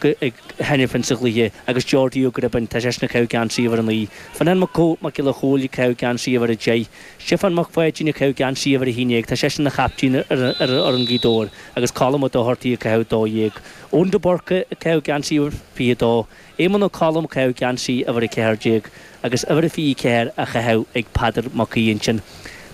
Ag Henifin sa chluiche agus Geordie Ó Gribín, tá seisean ag caitheamh geansaí uimhir 9. Fionán Mac Mac Giolla Chóill ag caitheamh geansaí uimhir 10. Stiofán Mac Pháidín ag caitheamh geansaí uimhir 11, tá seisean ina chaiptín ar fhoireann Ghaoth Dobhair agus Colm Ó Dochartaigh ag caitheamh 12. Eoin de Búrca ag caitheamh geansaí uimhir 22. Éamonn Ó Colm ag caitheamh geansaí uimhir 14 agus uimhir 24 á chaitheamh ag Peadar Mac Aoidh ansin.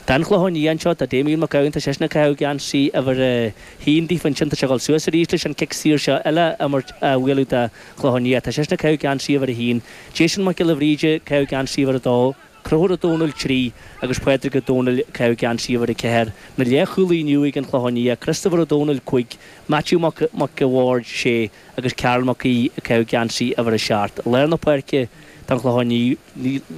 Don Chlochán Liath anseo, tá Damien Mac Gabhann, tá seisean ag caitheamh geansaí uimhir 1 daofa ansin, tá sé ag dul suas arís leis an cic saor seo eile a imirt, a bhualadh do Chlochán Liath, tá seisean ag caitheamh geansaí uimhir 1. Jason Mac Giolla Bhríde ag caitheamh geansaí uimhir 2, Conchúr Ó Domhnaill 3 agus Pádraig Ó Domhnaill ag caitheamh geansaí uimhir 4. Na leathchúlaithe inniu ag an Chlochán Liath, Christopher Ó Domhnaill 5, Matthew Mac Mac a' Bhaird 6 agus Karl Mac Aoidh ag caitheamh geansaí uimhir 7. I lár na páirce don Chlochán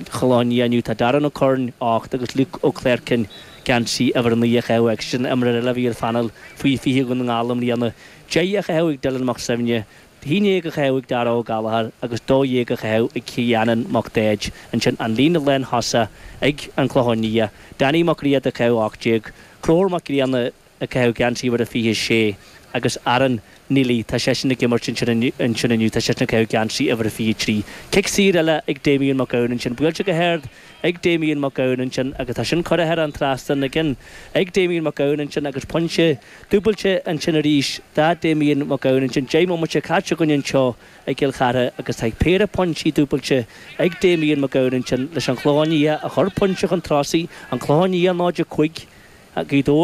Chlochán Liath inniu tá Darren Ó Curráin, 8, agus Luke Ó Cléircín, geansaí uimhir 9 á chaitheamh aige. Sin imreoir eile a bhí ar phainéal faoi 20 Dhún na nGall i mbliana. 10 á chaitheamh ag Dylan Mac Suibhne, 11 á chaitheamh ag Dara Ó Gallchóir agus 12 á chaitheamh ag Cianan Mac Daid. Ansin an líne lánthosaigh ag an Chlochán Liath, Danny Mac Riada ag caitheamh 18, Conchúr Mac Grianna, ag caitheamh geansaí uimhir a 26 agus Aaron Neely, tá seisean ag imirt ansin ansin inniu, tá seisean ag caitheamh geansaí uimhir a 23. Cic saor eile ag Damien Mac Gabhann ansin, buailte go hard ag Damien Mac Gabhann ansin agus tá sin curtha thar an trasnán again ag Damien Mac Gabhann ansin agus pointe dúbailte ansin arís do Damien Mac Gabhann ansin. 10 mbomaite caite againn anseo i gCill Chartha agus tá péire pointí dúbailte ag Damien Mac Gabhann ansin leis an Chlochán Liath a chur pointe chun tosaigh, an Clochán Liath 0-5, Gaoth Dobhair.